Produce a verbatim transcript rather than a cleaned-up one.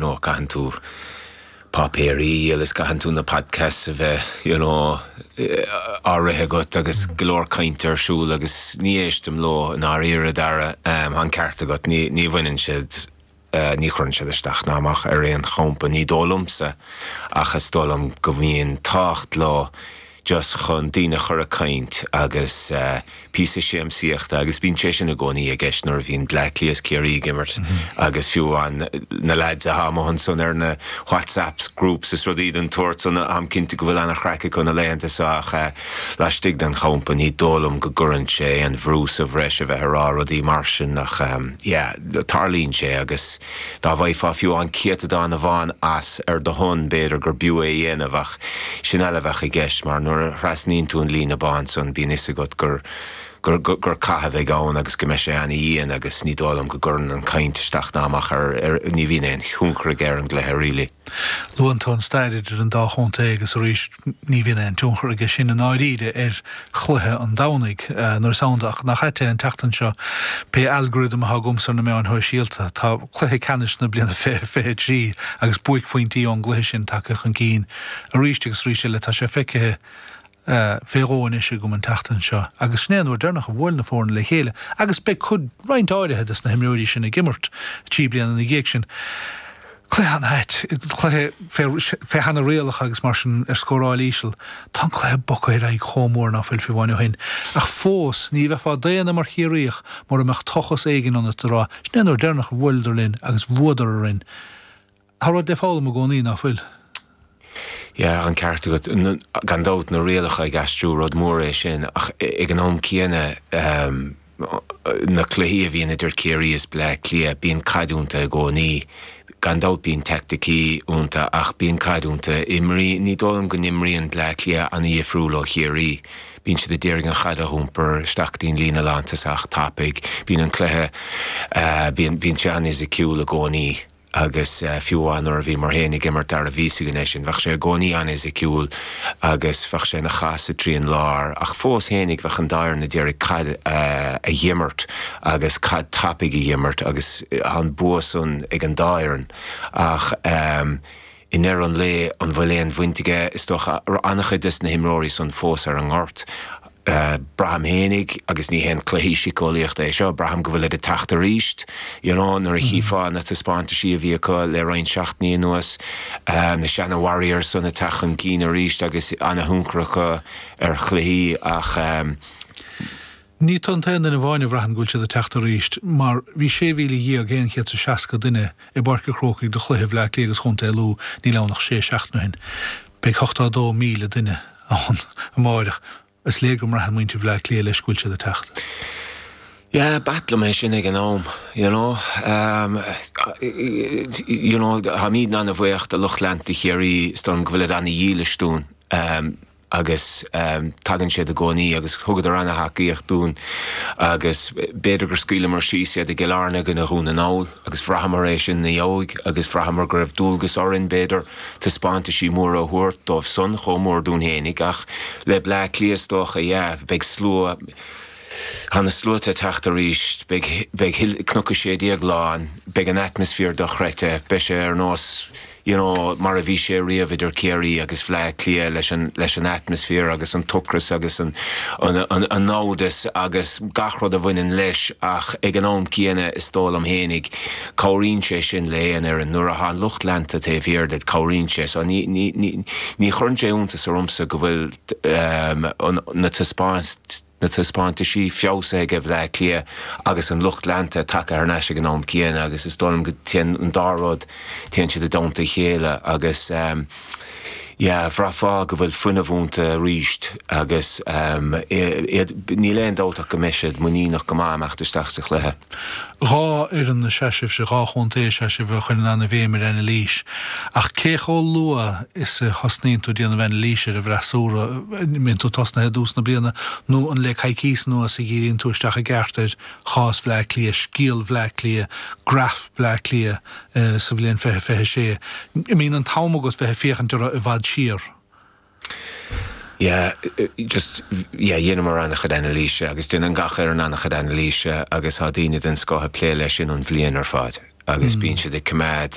Know, caitheann tú páipéirí agus caitheann tú na podcasts a bheith you know, á rith agat agus go leor caint ar siúl agus ní éistim leo i ndáiríre Dara um, an ceart agat ní, ní bhaineann siad uh, ní chuireann siad isteach ná amach ar aon champa ní dóigh liomsa ach is dóigh liom go mbíonn tábhacht leo just chun daoine a chur ag caint agus uh, píosa siamsaíochta agus bíonn sé sin i gcónaí i gceist nuair a bhíonn Bleá Cliath is Ciarraí ag imirt mm -hmm. agus fiú an na lads atá amuigh ansan ar na WhatsApps groups is rudaí den tsórt san am cinnte go bhfuil an-chraic acu na laethanta seo ach uh, laistigh den champa ní dóigh liom go gcuireann sé an bhrú sa bhreis a bheith ag rá rudaí mar sin ach um, yeah, tarlaíonn sé agus dá bhfaighfeá fiú an céatadán amháin as ar do shon b'fhéidir gur b'fhiú é a dhéanamh ach sin eile bheadh i gceist mar nuair a thrasnaíonn tú an líne bán san bíonn fhios agat gur gur, gur, gur caitheh ann agus go mbeidh sé an-dian agus ní dóigh liom go gcuireann an caint isteach ná amach ar, ar ní bhíonn aon tionchar aige ar an gcluiche really. Luann tú an stair idir an dá chontae agus arís ní bhíonn aon tionchar aige sin i ndáiríre ar chluiche an Domhnaigh nuair is ann ach nach ait an tseachtain seo pé algorithm atá agamsa ar na meáin shóisialta tá cluiche ceannais na bliana fiche fiche trí agus buaicphointí ón gcluiche sin tagtha chun cinn arís agus arís eile tá sé feicthe fé dhó anois agam an tseachtain seo, agus sin é an uair dheireanach a bhuail na foirne le chéile, agus beidh cuid roinnt áirithe des na himreoirí sin ag imirt trí bliana ina dhiaidh sin. Cluiche an-ait, cluiche fé sheana-rialacha agus mar sin ar scóráil íseal. Tá an cluiche bogtha ar aghaidh chomh mór ná fuil fiú amháin ó shin. Ach fós, ní bheifeá daonna mar Chiarraíoch mura mbeadh tochas éigin ionat a rá, sin é an uair dheireanach a bhuaileadar linn agus bhuadar orainn. Tá rud le foghlaim i gcónaí, ná fuil? Yeah, an ceart agat gan dabht na rialacha ag aistriú rud mór é sin ach ag an am céanna um, na cluichí a bhíonn idir Ciarraí is Bleá Cliath bíonn caid iontu i gcónaí. Gan dabht bíonn teaicticí iontu ach bíonn caid iontu imrí ní dóigh liom go n-imríonn Bleá Cliath an-difriúil ó Chiarraí. Bíonn siad ag iarraidh an chaid a iompar isteach go dtí an líne lántosach tapaidh, bíonn an cluiche uh, bíonn sé an-fhisiciúil i gcónaí. agus uh, fiú amháin nuair a bhíomar féin ag imirt dar a bhí againn é sin, bheadh sé i gcónaí an-fhisiciúil agus bheadh sé ina chasadh tríd an lár, ach fós féinig bheadh an dá fhoireann ag iarraidh caid uh, a dh'imirt agus caid tapaidh a dh'imirt agus an bua san ag an dá fhoireann ach um, i ndeireadh an lae an bhfuil aon bhaint aige is dócha an-chuid des na himreoirí san fós ar an ngort. Uh, braithim féinig agus ní haon cluiche síceolaíochta é seo, braithim go bhfuil ag teacht arís, you know, nuair a chífeá na taispeántaisí a bhí acu le roinnt seachtainí anuas, uh, na seana Warriors san ag teacht chun cinn arís agus an-thionchar acu ar chluichí ach um, Ní tú an t-aon duine amháin a bhraitheann go bhfuil siad ag teacht arís, mar bhí sé mhíle dhéag aon chéad is a seasca duine i bPáirc an Chrócaigh do chluiche Bhleá Cliath agus Chontae Lú níl ann ach sé seachtaine ó shin. Beidh ochtó a dó míle duine ann amárach. Is léir go mbraitheann muintir Bhleá Cliath leis go bhfuil siad ag teacht. Yeah, b'ait liom é sin ag an am, you know. Um, you know, táimid an-bhuíoch de lucht leanta Chiarraí is dóigh liom go bhfuil siad an-dhílis dúinn. Um, agus um, tagann siad i gcónaí agus thugadar an-tacaíocht dúinn agus b'fhéidir gur scaoileamar síos iad i gCill Airne go Dhún na nGall agus bhraitheamar é sin na dheoidh agus bhraitheamar go raibh dualgas orainn b'fhéidir taispeántaisí móra a thabhairt dóibh san chomh mór dúinn fhéinig ach le Bleá Cliath is dócha yeah, beidh slua Tá na sluaite ag teacht arís, beidh beidh Cnoc a sé déag lán, beidh an atmaisféar dochreidte, beidh sé ar nós you know, mar a bhí sé riamh idir Ciarraí agus Bleá Cliath leis an, leis an atmaisféar agus an t-ocras agus an, an, an, an namhdas agus gach rud a bhaineann leis ach ag an am céanna is dóigh liom fhéinig cabhraíonn sé sin le aon fhoireann nuair atá an lucht leanta taobh thiar díot cabhraíonn sé so ní, ní, ní, ní chuireann sé iontas ormsa go bhfuil um, an, na taispeáint na taispeántaisí feabhsaithe ag Bleá Cliath agus an lucht leanta tagtha thar n-ais ag an am céanna agus is dóigh liom go dtéann an dá rud téann siad i dteannta a chéile agus um, yeah, bhraithfeá go bhfuil fuinneamh iontu arís agus um, níl aon dabht ach go mbeidh siad muiníneach go maith amach isteach sa chluiche. Dhá fhoireann is ea sibhse, dhá chontae is ea sibh a chuireann an-bhéim ar anailís. Ach cé chomh luath is a thosnaíonn tú ag déanamh anailíse ar an bhfreasúra, mbíonn tú tosnaithe i dtús na bliana, nó an le coicís anuas a dhíríonn tú isteach i gceart ar chás Bhleá Cliath, scéal Bhleá Cliath, graf Bhleá Cliath sa bhliain fiche fiche sé. An mbíonn an t-am agat bheith ag féachaint orthu i bhfad siar. Yeah, just yeah, dhéanamar an-chuid anailíse agus déanann gach fhoireann an-chuid anailíse agus tá daoine den scoth ag plé leis sin an bhliain ar fad. Agus bíonn siad ag coimeád